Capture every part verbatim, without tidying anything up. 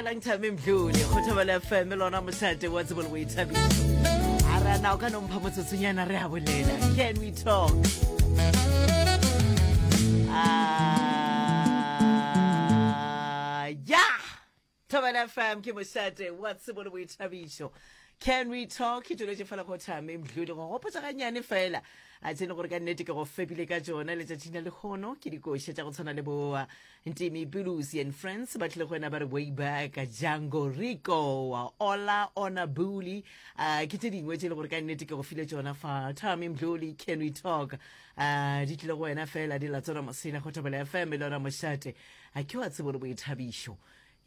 Dumelang Thami Mdluli, go Thobela F M lona mošate wa tsebo le boithabišo. A re na o ka no mpha motsotsonyana re a bolela? Can we talk? Ah, yeah. Thobela F M ke mošate wa tsebo le boithabišo. Can we talk? Ke duletše fela go Thami Mdluli go gopotsa ganyane fela a tsene gore ka nnete ke go fepile ka tšona letšatšing la lehono. Ke dikoša tša go tshwana le boa Ntimi Bulusi and Friends ba tlile go wena ba re Way Back, Django Rico, Ola Ona Buli, uh, ke tše dingwe tše e le gore ka nnete ke go file tšona fa Thami Mdluli. Can we talk uh, di tlile go wena fela di la tsona mosela go Thobela F M le ona mošate a ke wa tsebo le boithabišo.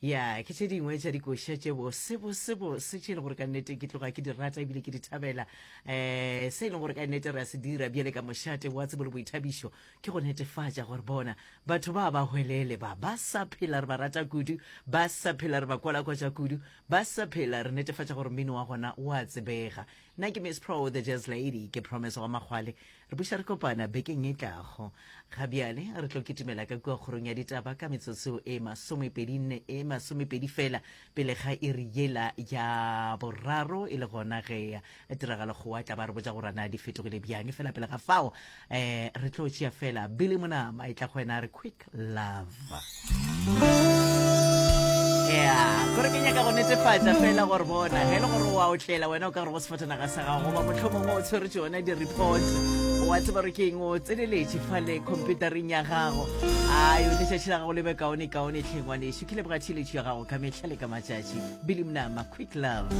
Ya, ke tše dingwe tša dikoša tše bose bose bose tše e leng gore ka nnete ke tloga ke di rata ebile ke di thabela. um se e leng gore ka nnete re a se dira bjale ka mošate wa tsebo le boithabišo ke go netefatša gore bona batho ba ba hwelele ba ba sa phela re ba rata kudu, ba sa phela re ba kwalakwatša kudu, ba sa phela re netefatša gore mmino wa gona o a tsebega. Nna ke Miss Pro the Jazz Lady, ke Promise wa Makgwale. Re buša re kopana bekeng e tlago. Ga bjale re tlo kitimela ka kua kgorong ya ditaba ka metsotso e masomepedi nne, e masomepedi fela pele ga iri yela ya boraro, e le gona ge tiragalo go tla ba re botša gore na di fetogile bjang. Fela pele ga fao um re tlo tšea fela Billy Monama e tla go wena re Quick Love. Ya kore ke nyaka go netefatša fela gore bona ge e le gore wa otlela wena o ka gore go sefatanaga sa gago goba mohlomongwe o tshwere tšona di-report, wa tseba gore ke eng, o tseneletše fale computereng ya gago. Ayo, letšatši la gago le be kaone kaone tlheng ngwanešu. Ke leboga tšhiletšo ya gago ka mehla le ka matšatši. Billy Monama, Quick Love.